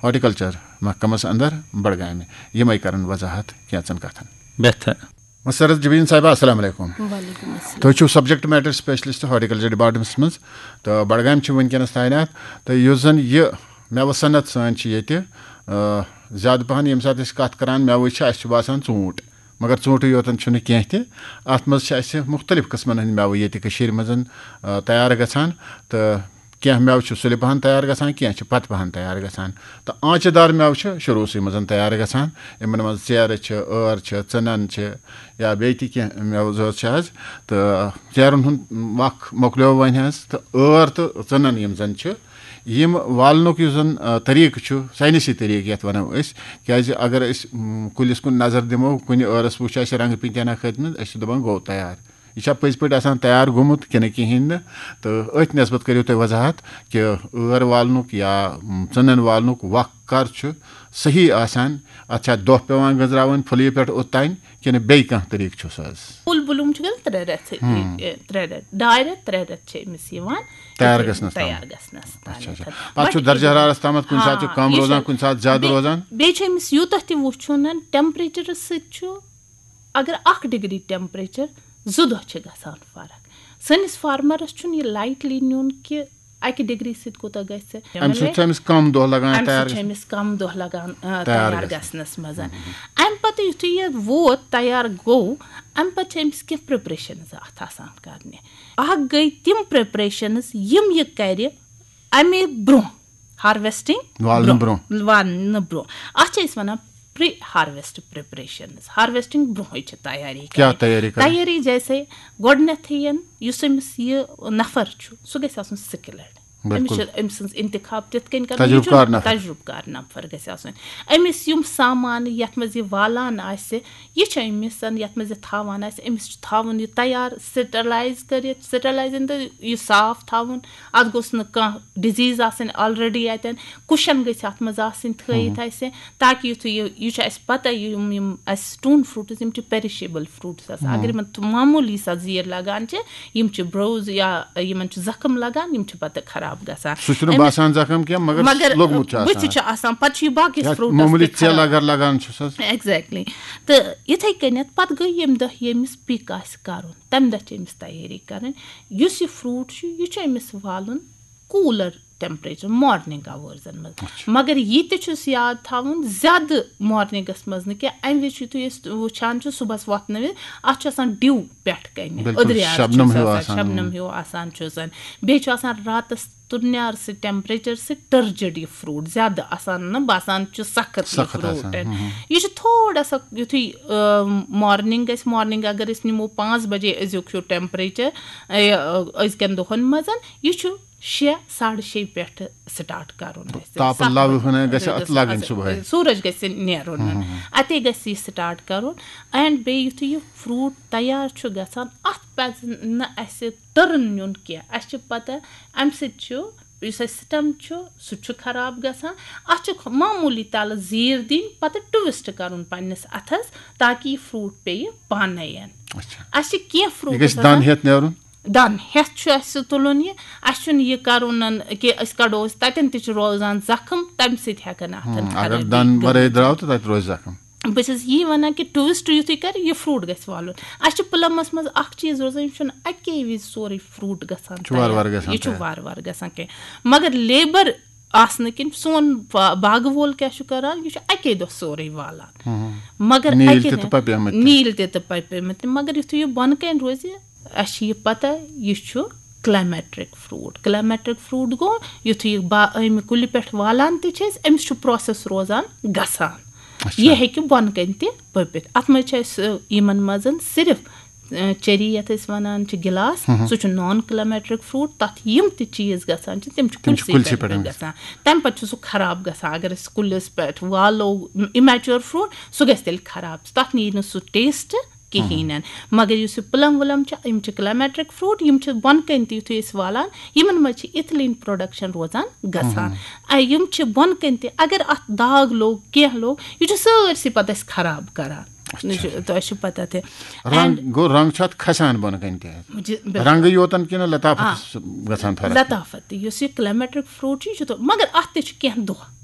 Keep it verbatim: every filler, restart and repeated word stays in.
Horticulture محکمس اندر بڈگامہِ، یِمے کرن وضاحت کینٛژن کتھن۔ بہتر۔ مسرت جبین صاحبہ، السلام علیکم۔ وعلیکم السلام۔ تُہۍ چھِو subject matter specialist horticulture departments منٛز، تہٕ بڈگامہِ چھِ وٕنکیٚنس تعینات۔ تہٕ یُس زن یہِ مٮ۪وٕ صنعت سٲنۍ چھِ ییٚتہِ، آ، زیادٕ پہن ییٚمہِ ساتہٕ أسۍ کتھ کران مٮ۪وٕچ چھِ، اسہِ چھُ باسان ژوٗنٛٹھ، مگر ژوٗنٛٹھٕے یوتن چھُنہٕ کینٛہہ تہِ۔ اتھ منٛز چھِ اسہِ مختلف قٕسمن ہٕنٛدۍ مٮ۪وٕ ییٚتہِ کٔشیٖرِ منٛز، آ، تیار گژھان، تہٕ کینٛہہ مٮ۪وٕ چھِ سُلہِ پہن تیار گژھان، کینٛہہ چھِ پتہٕ پہن تیار گژھان۔ تہٕ آنٛچہِ دار مٮ۪وٕ چھِ شروٗعسٕے منٛز تیار گژھان۔ یِمن منٛز ژیرٕ چھِ، ٲر چھِ، ژٕنن چھِ، یا بیٚیہِ تہِ کینٛہہ مٮ۪وٕ زٲژ چھِ حظ۔ تہٕ ژیرن ہُنٛد وق مۄکلیو وۄنۍ حظ، تہٕ ٲر تہٕ ژٕنن یِم زن چھِ، یِم والنُک یُس زن، آ، طریٖقہٕ چھُ، ساینسی طریٖقہٕ یتھ ونو أسۍ، کیازِ اگر أسۍ، م، کُلِس کُن نظر دِمو، کُنہِ ٲرس وٕچھ اسہِ رنٛگہٕ پینتہِ ہنا کھٔتمٕتۍ، أسۍ چھِ دپان گوٚو تیار۔ یہِ چھا پٔزۍ پٲٹھۍ آسان تیار گوٚمُت کِنہٕ کِہیٖنۍ نہٕ؟ تہٕ أتھۍ نسبت کٔرِو تُہۍ وضاحت کہِ ٲر والنُک یا، م، ژٕنن والنُک وق کر چھُ صحیح آسان؟ اتھ چھا دۄہ پٮ۪وان گٔنزراوٕنۍ پھُلیہِ پٮ۪ٹھ اوٚت تام، کِنہٕ بیٚیہِ کانٛہہ طریٖقہٕ چھُس حظ؟ فُل بلوٗم چھُ گژھان ترٛےٚ رٮ۪تھ، ہم۔ ترٛےٚ رٮ۪تھ، ڈاے رٮ۪تھ، ترٛےٚ رٮ۪تھ چھِ أمِس یِوان تیار گژھنس تام۔ تیار گژھنس تام۔ اچھا، اچھا۔ پتہٕ چھُ درجہ حرارس تامتھ کُنہِ ساتہٕ چھُ کم روزان، کُنہِ ساتہٕ زیادٕ روزان۔ بیٚیہِ چھُ أمِس یوٗتاہ تہِ وٕچھُن، ٹیمپریچرس سۭتۍ چھُ، اگر اکھ ڈگری ٹیمپریچر، زٕ دۄہ چھِ گژھان فرق۔ سٲنِس فارمرس چھُنہٕ یہِ لایٹلی نیُن کہِ اکہِ ڈگری سۭتۍ کوٗتاہ گژھِ۔ امہِ سۭتۍ چھُ أمِس کم دۄہ لگان امہِ تیار سۭتۍ چھُ گژھنس؟ أمِس کم دۄہ لگان، آ، تیار تیار گژھنس۔ گژھنس منٛز۔ امہِ پتہٕ یُتھُے یہِ ووت، تیار گوٚو، امہِ پتہٕ چھِ أمِس کینٛہہ پریپریشنز اتھ آسان کرنہِ۔ اکھ گٔے تِم پریپریشنز یِم یہِ کرِ امہِ برونٛہہ، ہارویسٹنگ والنہٕ برونٛہہ۔ والنہٕ برونٛہہ۔ اتھ چھِ أسۍ ونان پری ہارویسٹ پریپریشنز۔ ہارویسٹنگ برونٛہٕے چھِ تیٲری کیٛاہ کرٕنۍ۔ تیٲری کرٕنۍ؟ تیٲری جیسے گۄڈٕنیتھٕے یُس أمِس یہِ نفر چھُ، سُہ گژھِ آسُن سکلڈ۔ أمِس بِلکُل۔ چھِ أمۍ سٕنٛز انتخاب تِتھ کٔنۍ کرُن، تجربہٕ یہِ چھُ کار نفر۔ تجربہٕ کار نفر گژھِ آسُن۔ أمِس یِم سامان یتھ منٛز یہِ والان آسہِ، یہِ چھُ أمِس یتھ منٛز یہِ تھاوان آسہِ، أمِس چھُ تھاوُن یہِ تیار، سٹرلایز کٔرِتھ، سٹرلایز ان تہٕ یہِ صاف تھاوُن۔ اتھ گوٚژھ نہٕ کانٛہہ ڈِزیٖز آسٕنۍ آلریڈی اتٮ۪ن، کُشن گٔژھۍ اتھ منٛز آسٕنۍ تھٲیِتھ اسہِ، تاکہِ یُتھُے یہِ، یہِ چھُ اسہِ پتہ، یِم یِم اسہِ سٹون فروٹس، یِم چھِ پیرشیبل فروٹس آسان۔ اگر یِمن تھو-، معموٗلی سا زیٖر لگان چھِ، یِم چھِ بروز یا یِمن چھُ زخم لگان، یِم چھِ پتہٕ خراب گژھان۔ سُہ چھُنہٕ أمِس مگر لوٚگمُت چھُ بٕتھِ آسان۔ چھُ آسان، پتہٕ چھُ یہِ باقٕے یا فروٹس معموٗلی تہِ ژیل خراب۔ اگر لگان چھُس حظ۔ ایگزیکٹلی۔ تہٕ یِتھے کٔنٮ۪تھ پتہٕ گٔے ییٚمہِ دۄہ ییٚمِس پِک آسہِ کرُن، تمہِ دۄہ چھِ أمِس تیٲری کرٕنۍ۔ یُس یہِ فروٹ چھُ، یہِ چھُ أمِس والُن کوٗلر ٹیمپریچر مارننگ آورزن منٛز۔ مگر یہِ تہِ چھُس یاد تھاوُن، زیادٕ مارننگس منٛز نہٕ کینٛہہ۔ امہِ وِزِ چھُ، یُتھُے أسۍ وٕچھان چھِ صُبحس وۄتھنہٕ وِزِ، اتھ چھُ آسان ڈِو پٮ۪ٹھ کنہِ، بِلکُل، أدرِیار چھُس شبنم ہیوٗ آسان، آسان۔ شبنم ہیوٗ آسان چھُ آسان۔ بیٚیہِ چھُ آسان راتس تُرنیار سۭتۍ ٹیمپریچر سۭتۍ ٹٔرجِڈ یہِ فروٹ، زیادٕ آسان نہٕ، باسان چھُ سخت یہِ سخت آسان، فروٹ۔ یہِ چھُ تھوڑا سا یُتھُے، آ، مارننگ گژھِ، مارننگ اگر أسۍ نِمو پانٛژھ بجے أزیُک چھُ ٹیمپریچر، آ، أزکٮ۪ن دۄہن منٛز، یہِ چھُ شےٚ، ساڑٕ شےٚ پٮ۪ٹھٕ سٹارٹ کرُن اَسہِ۔ تاپہٕ ستھ لَوِ بجے۔ ہٕنہ گژھِ اَتھ لَگٕنۍ صُبحٲے۔ سورج گژھِ نیرُن۔ اتے گژھِ یہِ سٹارٹ کرُن۔ اینڈ بیٚیہِ یُتھُے یہِ فروٹ تیار چھُ گژھان، اتھ پزِ نہٕ اسہِ ٹٔرٕن نیُن کینٛہہ۔ اسہِ چھِ پتہ امہِ سۭتۍ چھُ، یُس اسہِ سٹم چھُ، سُہ تہِ چھُ خراب گژھان۔ اتھ چھِ معموٗلی تلہٕ زیٖر دِنۍ، پتہٕ ٹویسٹ کرُن پننِس اتھس، تاکہِ یہِ فروٹ پیٚیہِ پانے۔ اچھا۔ اسہِ چھِ کینٛہہ فروٹ یہِ گژھِ دَن ہیٚتھ نیرُن۔ دَن ہیٚتھ چھُ اَسہِ تُلُن یہِ۔ اَسہِ چھُنہٕ یہِ کَرُن کہِ أسۍ کَڑو أسۍ، تَتٮ۪ن تہِ چھُ روزان زَخٕم، تَمہِ سۭتۍ ہٮ۪کَن اَتھَن ہم، اگر خرٲبی دَن وَرٲے گٔژھِتھ۔ درٛاو تہٕ تَتہِ روزِ زَخٕم۔ بہٕ چھَس یی وَنان کہِ ٹوٗرِسٹ یُتھُے کَرِ، یہِ فروٗٹ گژھِ والُن۔ اَسہِ چھُ پُلَمَس منٛز اَکھ چیٖز روزان، یِم چھُنہٕ اَکے وِزِ سورُے فروٗٹ گژھان چھُ وارٕ وارٕ تیار۔ گژھان یہِ چھُ تیار۔ وارٕ وارٕ گژھان کینٛہہ۔ مگر لیبَر آسنہٕ کِنۍ سون با-، باغہٕ وول کیٛاہ چھُ کَران، یہِ چھُ اَکے دۄہ سورُے والان۔ ہم۔ مگر نیٖلۍ اَکے تہِ دۄہ تہٕ پَپیمٕتۍ تہِ۔ نیٖلۍ تہِ تہٕ پَپیمٕتۍ تہِ۔ مگر یُتھُے یہِ بۄنہٕ کَنہِ روزِ، اَسہِ چھِ یہِ پَتہ، یہِ چھُ کلایمیٹرک فروٗٹ۔ کلایمیٹرک فروٗٹ گوٚو، یُتھُے یہِ با-، اَمہِ کُلہِ پٮ۪ٹھ والان تہِ چھِ أسۍ، أمِس چھُ پروسیس روزان گژھان۔ اچھا۔ یہِ ہیٚکہِ بۄنہٕ کَنہِ تہِ پٔپِتھ۔ اَتھ منٛز چھِ اَسہِ، یِمَن منٛز صرف، اَ، چیری، یَتھ أسۍ وَنان چھِ گِلاس، ہم۔ سُہ چھُ نان کلایمیٹرک فروٗٹ۔ تَتھ یِم تہِ چیٖز گژھان چھِ، تِم چھِ تِم چھِ کُلسٕے کُلسٕے پٮ۪ٹھ پٮ۪ٹھ گژھان۔ تَمہِ پَتہٕ چھُ سُہ خراب گژھان۔ اگر أسۍ کُلِس پٮ۪ٹھ والو اِمیچور فروٗٹ، سُہ گژھِ تیٚلہِ خراب۔ تَتھ نیرِ نہٕ سُہ ٹیسٹ کِہیٖنۍ نہٕ۔ مگر یُس یہِ پٕلم وٕلم چھِ، یِم چھِ کلایمیٹرک فروٗٹ، یِم چھِ بۄنہٕ کَنہِ تہِ، یُتھُے أسۍ والان، یِمن منٛز چھِ اِتھلین پروڈکشن روزان گژھان۔ اَ، یِم چھِ بۄنہٕ کَنہِ تہِ، اگر اَتھ داغ لوٚگ، کینٛہہ لوٚگ، یہِ چھُ سٲرسٕے پَتہٕ اَسہِ خراب کران۔ یہِ چھُ، تۄہہِ چھُ پَتہ تہِ۔ رنگ گوٚو، رنگ چھُ اَتھ کھسان بۄنہٕ کَنہِ تہِ حظ۔ جی، بِلکُل۔ رنگہٕ یوتن کِنہٕ لطافت گژھان فرق؟ لطافت تہِ، یُس یہِ کلایمیٹرک فروٗٹ چھُ، یہِ چھُ تو-، مگر اَتھ تہِ چھِ کینٛہہ دۄہ۔